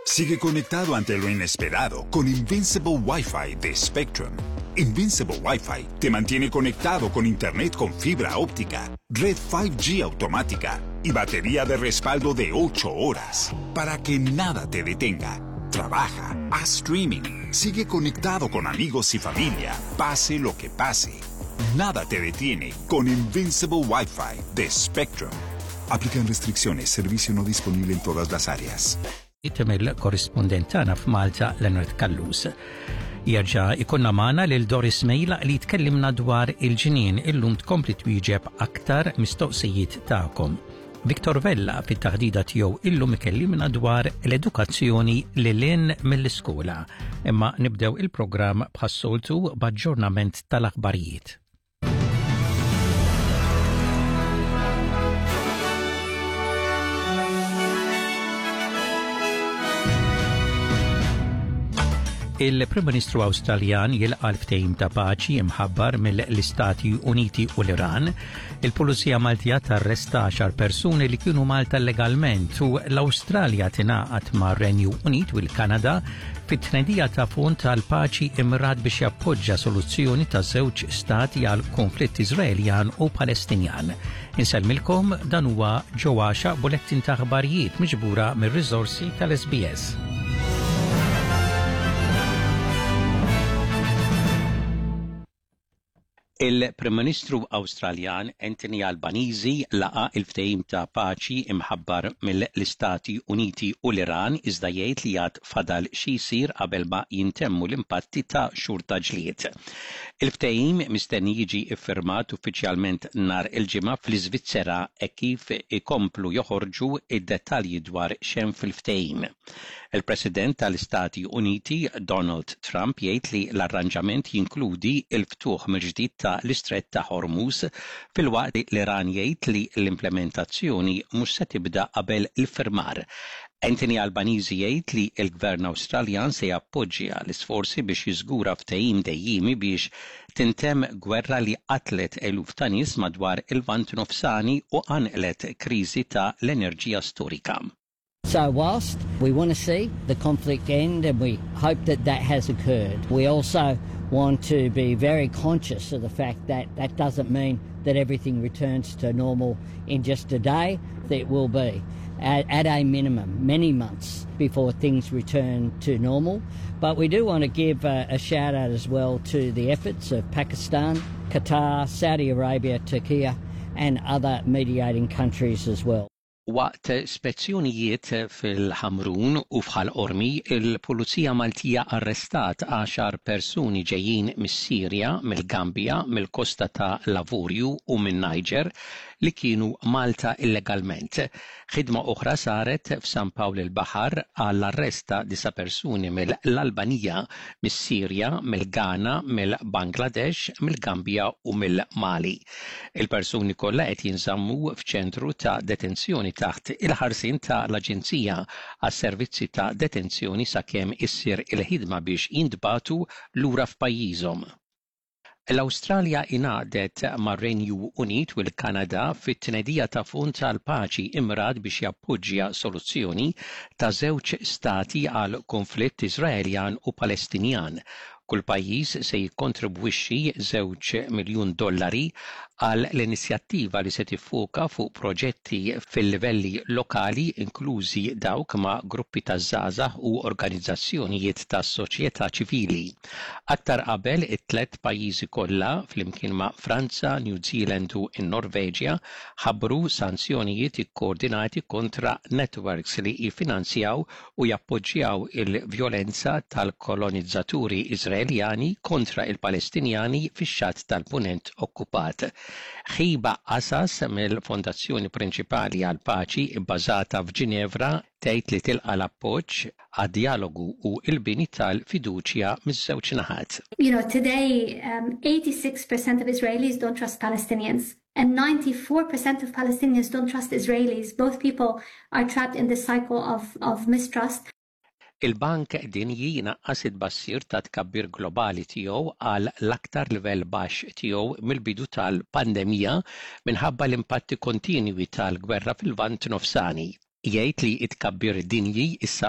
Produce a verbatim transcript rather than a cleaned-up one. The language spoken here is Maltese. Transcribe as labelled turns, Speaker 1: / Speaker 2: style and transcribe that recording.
Speaker 1: Sigue conectado ante lo inesperado con Invincible Wi-Fi de Spectrum. Invincible Wi-Fi te mantiene conectado con internet con fibra óptica, red cinco G automática y batería de respaldo de ocho horas para que nada te detenga. Trabaja, haz streaming, sigue conectado con amigos y familia, pase lo que pase. Nada te detiene con Invincible Wi-Fi de Spectrum. Aplican restricciones, servicio no disponible en todas las áreas.
Speaker 2: Mill-korrispondent tagħna f'Malta, Leonard Callus. Jerġa' ikollna magħna lil Doris Mejla li tkellimna dwar il-ġinien, illum tkompli twieġeb aktar mistoqsijiet tagħkom. Victor Vella fit-taħdida tiegħu illum ikellimna dwar l-edukazzjoni lil hinn mill-iskola. Imma nibdew il-programm bħas-soltu b'aġġornament tal-aħbarijiet. Il-Prim Ministru Awstraljan jilqa' l-ftehim ta' paċi imħabbar mill-Istati Uniti u l-Iran. Il-Pulizija Maltija tarresta għaxar persuni li kienu Malta illegalment u l-Awstralja tingħaqad ma' Renju Unit u l-Kanada fit-tnedija ta' fond tal-paċi immirat biex jappoġġa soluzzjoni ta' żewġ stati għal konflitt Iżraeljan u Palestinjan. Insellmilkom, dan huwa ġewwaxa bulettin ta' aħbarijiet miġbura mir-riżorsi tal-S B S. Il-Prim Ministru Awstraljan Anthony Albanese laqa il-ftehim ta' paċi imħabbar mill-Istati Uniti u l-Iran, iżda jgħid li għad fadal xi jsir qabel ma jintemmu l-impatti ta' xhur ta' ġlied. Il-ftehim mistenni jiġi iffirmat uffiċjalment nhar il-Ġimgħa fl-Iżvizzera e kif ikomplu joħorġu id-dettalji dwar x'hemm fil-ftehim. Il-President tal-Istati Uniti Donald Trump jgħid li l-arranġament jinkludi il-ftuħ mill-ġdid ta' l-Istret ta' Hormuz, filwaqt li l-Iran jgħid li l-implementazzjoni mhux se tibda qabel il-firmar. Anthony Albanese jgħid li l-Gvern Awstraljan se jappoġġja l-isforzi biex jiżgura ftehim dejjimi biex tintemm gwerra li qatlet eluf ta' nies madwar il-Lvant Nofsani u qanqlet kriżi ta' l-enerġija storika.
Speaker 3: So whilst we want to see the conflict end and we hope that that has occurred, we also want to be very conscious of the fact that that doesn't mean that everything returns to normal in just a day. It will be, at, at a minimum, many months before things return to normal. But we do want to give a, a shout out as well to the efforts of Pakistan, Qatar, Saudi Arabia, Turkey, and other mediating countries as well.
Speaker 2: Waqt spezzjonijiet fil-Ħamrun u f'Ħal Qormi, il-Pulizija Maltija arrestat għaxar persuni ġejjin mis-Sirja, mill-Gambja, mill-Kosta ta' l-Avorju u minn Niger li kienu Malta illegalment. Ħidma oħra saret f'San Pawl il-Baħar għall-arrest ta' disa' persuni mill-Albanija, mis-Sirja, mill-Ghana, mill-Bangladesh, mill-Gambja u mill-Mali. Il-persuni kollha qed jinżammu f'ċentru ta' detenzjoni taħt il-ħarsien ta' l-Aġenzija għas-Servizzi ta' Detenzjoni sakemm issir il-ħidma biex jintbagħtu lura f'pajjiżhom. L-Awstralja ingħaqdet mar-Renju Unit u l-Kanada fit-tnedija ta' fond tal-paċi immirat biex jappoġġja soluzzjoni ta' żewġ stati għal konflitt Iżraeljan u Palestinjan. Kull pajjiż se jikkontribwixxi żewġ miljun dollari għal l-inizjattiva li se tiffoka fuq proġetti fil-livelli lokali, inklużi dawk ma' gruppi ta' żgħażagħ u organizzazzjonijiet tas soċjetà ċivili. Aktar qabel, it-tlet pajjiżi kollha flimkien ma' Franza, New Zealand u n-Norveġja ħabbru sanzjonijiet ikkoordinati kontra networks li jiffinanzjaw u jappoġġjaw il-vjolenza tal-kolonizzaturi Iżraeljani kontra il-Palestinjani fix-Xatt tal-Punent okkupat. Ħiba Asas mill-Fondazzjoni Prinċipali għal Paċi bbażata f'Ġinevra tgħid li tilqa l-appoġġ għad-dialogu u l-bini tal-fiduċja miż-żewġ naħat.
Speaker 4: You know, today, um, eighty-six percent of Israelis don't trust Palestinians. And ninety-four percent of Palestinians don't trust Israelis. Both people are trapped in this cycle of, of mistrust.
Speaker 2: Il-Bank Dinji naqqas it-tbassir ta' tkabbir globali tiegħu għal l-aktar livell baxx tiegħu mill-bidu tal-pandemija minħabba l-impatti kontinwi tal-gwerra fil-Lvant Nofsani. Jgħid li t-tkabbir dinji issa